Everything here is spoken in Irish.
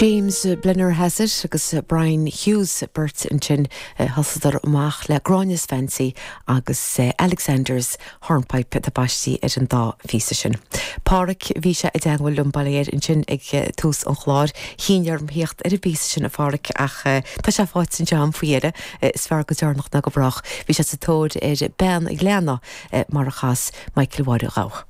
James Blennerhassett agus Brian Hughes beirt ansin, thosaíodar amach le Gráinne's Fancy agus Alexander's Hornpipe atá baistí ar an dá phíosa sin. Páraic, bhí sé i dteangmháil liom, bail ó Dhia air, ansin ag tús an chláir. Chinn orm theacht ar an bpíosa sin, a Pháraic, ach tá sé faighte anseo agam faoi dheireadh. Is fearr go deireanach ná go brách. Bhí sé sa tóir ar Bean Ghleanna mar a chas Michael Mháire Ghabha.